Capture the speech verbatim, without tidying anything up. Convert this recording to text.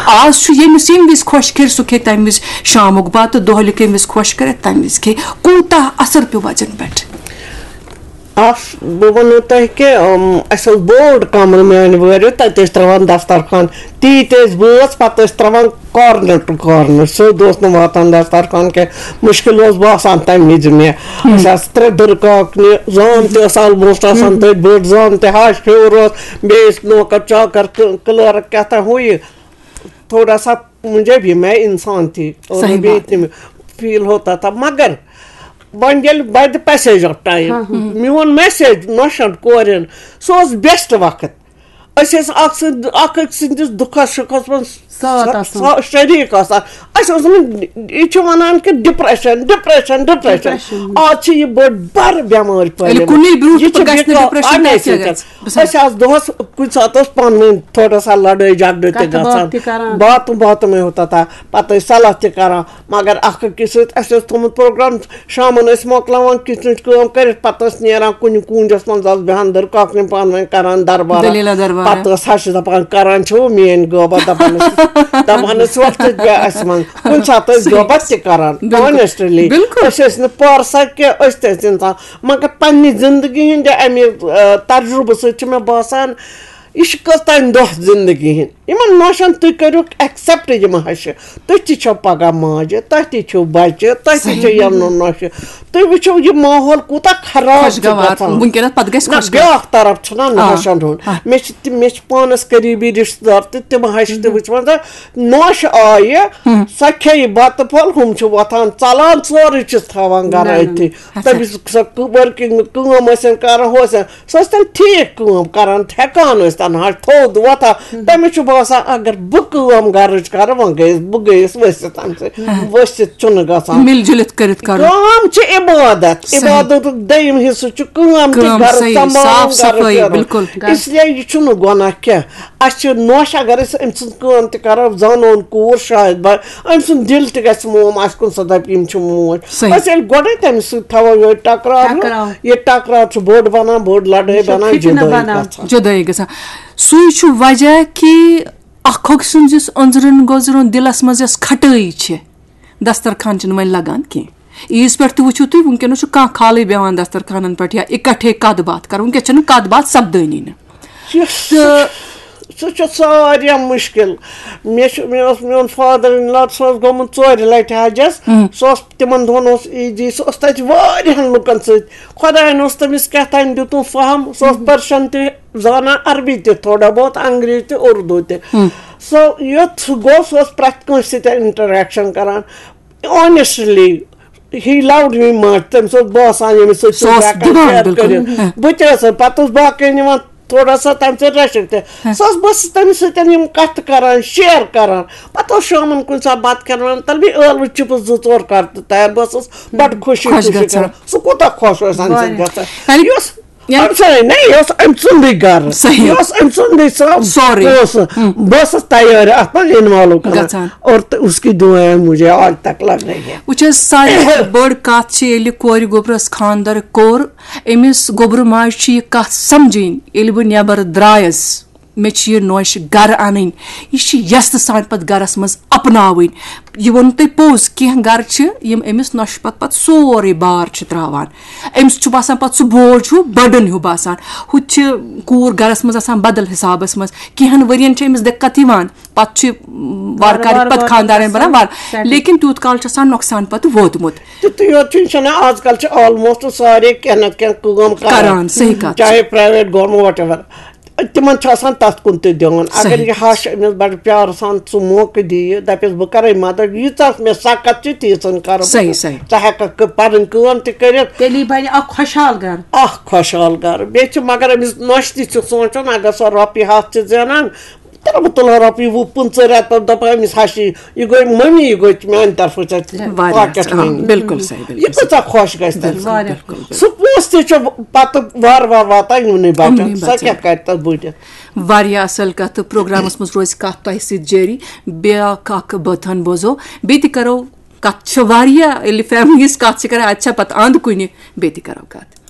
آز چھُ ییٚمِس ییٚمہِ وِزِ خۄش کَرِ، سُہ کھیٚیہِ تَمہِ وِزِ شامُک بَتہٕ، دۄہلہِ کَمہِ وِزِ خۄش کَرِ، تَمہِ وِزِ کھیٚیہِ۔ کوٗتاہ اثر پیوٚو بَچَن پٮ۪ٹھ؟ اَکھ، بہٕ وَنو تۄہہِ کہِ، اَم، اَسہِ اوس بوٚڑ کَمرٕ میٛانہِ وٲرِو، تَتہِ ٲسۍ ترٛاوان دَسترخوان، تیٖتۍ ٲسۍ بٲژ، پَتہٕ ٲسۍ ترٛاوان corner to corner، سیوٚد اوس نہٕ واتان دَسترخوان کینٛہہ، مُشکِل اوس باسان تَمہِ وِزِ مےٚ۔ اَسہِ آسہٕ ترٛےٚ دٕرکاکنہِ، زام تہِ ٲس almost آسان تٔتھۍ، بٔڑ زام تہِ، ہَش ہیوٚر اوس، بیٚیہِ ٲسۍ نوکَر چاکَر، کٕلٲرٕک کیٛاہ تام ہُہ یہِ۔ تھوڑا سا مجھے بھی، میں انسان تھی اور صحیح میں بھی بات ہے۔ اتنی فیل ہوتا تھا، مگر وۄنۍ ییٚلہِ by the passage of time میون message نۄشن کورٮ۪ن، سُہ اوس best وقت۔ أسۍ ٲسۍ اکھ سٕنٛدِ اکھ أکۍ سٕنٛدِس دُکھس سُکھس منٛز ساتھ آسان۔ سا- شریٖک آسان۔ اَسہِ اوس نہٕ، یہِ چھِ وَنان کہِ depression، depression، depression۔ Depression۔ آز چھِ یہِ بٔڑ بار بٮ۪مٲرۍ ییٚلہِ پھٔہلیمٕژ۔ کُنُے برٛونٛہہ یہِ تہٕ چھِ پَتہٕ گژھِ نہٕ بِکا-، depression، اَمے تَتہِ کیٛاہ سۭتۍ۔ گژھِ؟ بہٕ أسۍ آسہٕ دۄہَس کُنہِ ساتہٕ اوس پانہٕ ؤنۍ تھوڑا سا لڑٲے جھگڑٕ تہِ کَتھ باتھ گژھان۔ تہِ کَران۔ باتہٕ باتہٕ میں ہوتا تھا۔ پَتہٕ ٲسۍ صلاح تہِ کَران۔ مگر اَکھ أکِس سۭتۍ، اَسہِ اوس تھوٚمُت پروگرام، شامَن ٲسۍ مۄکلاوان کِچنٕچ کٲم کٔرِتھ، پَتہٕ ٲسۍ نیران کُنہِ کوٗنجَس منٛز، آسہٕ بیٚہان دٕرکاکنہِ پانہٕ ؤنۍ کَران دربارہ۔ دٔلیٖلہ دربارہ۔ پَتہٕ ٲس ہَشہِ دَپان، "کَران چھِو میٛٲنۍ غٲبت؟" دَپان ٲسۍ، دَپان ٲسۍ، "وقتٕچ گٔے اَسہِ منٛز۔" کُنہِ ساتہٕ ٲسۍ صحیح۔ غٲبت تہِ کَران، بِلکُل۔ Honestly۔ بِلکُل۔ أسۍ ٲسۍ نہٕ پارسا کینٛہہ، أسۍ تہِ ٲسۍ اِنسان۔ مگر پننہِ زندگی ہٕنٛدِ اَمہِ، آ، تجرُبہٕ سۭتۍ چھِ مےٚ باسان، یہِ چھِ کٔژتام دۄہ زندگی ہٕنٛدۍ۔ یِمن نوشن تُہۍ کٔرِو accept، یِم ہشہِ، تُہۍ تہِ چھِو پگاہ ماجہِ، تۄہہِ تہِ چھِو بچہِ، تۄہہِ تہِ چھِ صحیح۔ یِمن نوشہِ۔ تُہۍ وٕچھِو، یہِ ماحول کوٗتاہ خراب چھُ خۄشگوار۔ گژھان۔ وٕنکیٚنَس پَتہٕ گژھِ نہ، خۄشگوار۔ بیٛاکھ طرف چھُنہ آ، نوشن ہُنٛد۔ آ۔ مےٚ چھِ تہِ-، مےٚ چھِ پانس قریٖبی رشتہٕ دار تہِ، تِم ہشہِ تہِ وٕچھمژٕ۔ نوشہِ آیہِ، سۄ کھیٚیہِ بتہٕ پھوٚل، ہُم چھِ وۄتھان، ژلان، سورُے چھِس تھاوان گرٕ نہ، نہ، أتھی۔ نہ۔ اچھا۔ تٔمِس سۄ working کٲم ٲسِن کران، ہُہ ٲسِن، سۄ ٲسۍ تَن ٹھیٖک کٲم کران، تھٮ۪کان ٲسۍ تَن، ہَش تھوٚد وۄتھان۔ تٔمِس چھُ باسان، اگر بہٕ کٲم گرٕچ کرٕ، وۄنۍ گٔیَس، بہٕ گٔیَس ؤسِتھ اَمہِ سۭتۍ۔ ؤسِتھ چھُنہٕ گژھان۔ مِل جُلِتھ کٔرِتھ کرُن۔ کٲم چھِ عبادت۔ صحیح۔ عبادتُک دوٚیِم حصہٕ چھُ کٲم تہِ، کٲم گرٕ صحیح، سنبھالُن، صاف گرٕ صفٲیی، کرُن۔ بِلکُل۔ اس لیے یہِ چھُنہٕ گۄناہ کینٛہہ۔ اَسہِ چھِ نوش، اگر أسۍ أمۍ سٕنٛز کٲم تہِ کرو، زانون کوٗر شاید بہ-، أمۍ سُنٛد دِل تہِ گژھِ موم، اَسہِ کُن سا دَپہِ، یِم چھِ موج۔ صحیح۔ أسۍ ییٚلہِ گۄڈَے تٔمِس سۭتۍ تھاوو یِہوٚے ٹکراو ہیوٗ، ٹکراو۔ یہِ ٹکراو چھُ بوٚڑ بَنان، بوٚڑ لڑٲے یہِ چھُ بَنان، فتنہٕ جُدٲیی بَنان۔ گژھان۔ جُدٲیی گژھان۔ سُے چھُ وجہ کہِ اکھ أکۍ سٕنٛز یُس أنٛدرَن گوٚزرَن دِلَس منٛز یۄس کھٹٲیی چھِ، دسترخان چھِنہٕ وۄنۍ لگان کینٛہہ۔ عیٖذ پٮ۪ٹھ تہِ وٕچھِو تُہۍ، وٕنکیٚنَس چھُ کانٛہہ کھالٕے بیٚہوان دسترخانَن پٮ۪ٹھ یا اِکٹھے کَتھ باتھ کَرُن، وٕنکیٚس چھَنہٕ کَتھ باتھ سپدٲنی نہٕ۔ یُس تہٕ سُہ چھُ ساروِیو مُشکِل۔ مےٚ چھُ، مےٚ اوس میون father in law، سُہ اوس گوٚمُت ژورِ لَٹہِ حجَس۔ سُہ اوس، تِمَن دۄہَن اوس عیٖدی، سُہ اوس تَتہِ واریاہَن لُکَن سۭتۍ۔ خۄدایَن اوس تٔمِس کیٛاہ تام دیُتمُت فہم، سُہ اوس پٔرشَن تہِ زانان، عربی تہِ تھوڑا بہت، انگریٖزی تہِ، اُردو تہِ۔ سُہ یوٚت سُہ گوٚو، سُہ اوس پرٛٮ۪تھ کٲنٛسہِ سۭتۍ interaction کَران۔ Honestly، he loved me much۔ تٔمِس اوس باسان، ییٚمِس سۭتۍ سُہ تُہۍ اوس ہٮ۪کان دِوان، share بِلکُل۔ کٔرِتھ۔ بہٕ تہِ ٲسَس، پَتہٕ اوس باقٕے نِوان تھوڑا سا تَمہِ سۭتۍ رٔچھِتھ تہِ۔ سُہ اوس، بہٕ ٲسٕس تٔمِس سۭتۍ یِم کَتھٕ کَران، share کَران۔ پَتہٕ اوس شامَن کُنہِ ساتہٕ بَتہٕ کھٮ۪نہٕ وَنان، تَلہٕ بیٚیہِ ٲلوٕ chips زٕ ژور کَر تہٕ تیار۔ بہٕ ٲسٕس بَڑٕ خوشی خۄش خوشی گژھان۔ کَران۔ سُہ کوٗتاہ خۄش اوس اَمہِ سۭتۍ واریاہ۔ گژھان۔ یعنی یہِ اوس، یعنی أمۍ سۭتۍ نہ، یہِ اوس أمۍ سُنٛدُے گرٕ۔ صحیح۔ یہِ اوس أمۍ سُنٛدُے سۄ سورُے۔ پونٛسہٕ۔ بہٕ ٲسٕس تیار اَتھ منٛز involve کران۔ گژھان۔ اور تہٕ اس کی دعائیں مجھے آج تک لگ رہی ہے۔ وٕچھ حظ، ساروی کھۄتہٕ بٔڑ کَتھ چھِ، ییٚلہِ کورِ گوٚبرَس خانٛدر کوٚر، أمِس گوٚبرٕ ماجہِ چھِ یہِ کَتھ سَمجھٕنۍ، ییٚلہِ بہٕ نٮ۪بر درٛایَس، مےٚ چھِ یہِ نوشہِ گَرٕ اَنٕنۍ، یہِ چھِ یَژھٕ سان پَتہٕ گَرَس منٛز اَپناوٕنۍ۔ یہِ ووٚن تۄہہِ پوٚز، کینٛہہ گَرٕ چھِ، یِم أمِس نۄشہِ پَتہٕ پَتہٕ سورُے بار چھِ ترٛاوان۔ أمِس چھُ باسان پَتہٕ سُہ بوج ہیوٗ، burden ہیوٗ باسان۔ ہُتہِ چھِ کوٗر گَرَس منٛز آسان بدل حِسابَس منٛز۔ کینٛہَن ؤرِیَن چھِ أمِس دِقت یِوان، پَتہٕ چھِ وارٕ وارٕ کارٕ وارٕ پَتہٕ وارٕ خانٛدارَن گژھان بَنان وارٕ، settle۔ لیکِن تیوٗت کال چھُ آسان نۄقصان پَتہٕ ووتمُت۔ تہٕ تیوت چھُنہٕ چھُنہٕ آز کل چھِ almost سارے کینٛہہ نتہٕ کینٛہہ کٲم کران۔ کران، صحیح کتھ۔ چاہے private، government، whatever۔ تِمن چھُ آسان تتھ کُن تہِ دیُن۔ اگر صحیح۔ یہِ ہش أمِس بڑٕ پیارٕ سان ژٕ موقعہٕ دِیہِ، دپٮ۪س، "بہٕ کرے مدد، ییٖژاہ مےٚ سکت چھِ، تیٖژن کرٕ بہٕ صحیح، ژٕ۔" صحیح۔ ژٕ ہٮ۪ککھ پنٕنۍ کٲم تہِ کٔرِتھ۔ تیٚلی بنہِ اکھ خۄشحال گرٕ۔ اکھ خۄشحال گرٕ۔ بیٚیہِ چھِ، مگر أمِس نۄشہِ تہِ چھُ سونٛچُن، اگر سۄ رۄپیہِ ہتھ چھِ زینان، تہٕ بہٕ تُلہٕ ہا رۄپیہِ وُہ پٕنٛژٕہ رٮ۪تھ پتہٕ دَپہٕ ہا أمِس ہشی، یہِ گوٚو مٔمی، یہِ گوٚو میٛانہِ طرفہٕ ژےٚ واریاہ pocket اَصٕل۔ money۔ بِلکُل صحیح، بِلکُل یہِ کۭژاہ صحیح۔ خۄش گژھِ تَمہِ سۭتۍ۔ واریاہ۔ سُہ پونٛسہٕ تہِ چھُ پتہٕ وارٕ وارٕ واتان یِمنٕے بَچَن۔ یِمنٕے سۄ بَچَن۔ کیٛاہ کَرِ تَتھ بٔڑِتھ؟ واریاہ اَصٕل کَتھ تہٕ پروگرامَس منٛز روزِ کَتھ تۄہہِ سۭتۍ جٲری۔ بیٛاکھ اَکھ بٲتھَن بوزو، بیٚیہِ تہِ کَرو کَتھ۔ چھِ واریاہ، ییٚلہِ families کَتھ چھِ کَران، اَتہِ چھا پَتہٕ اَنٛد کُنہِ، بیٚیہِ تہِ کَرو کَتھ۔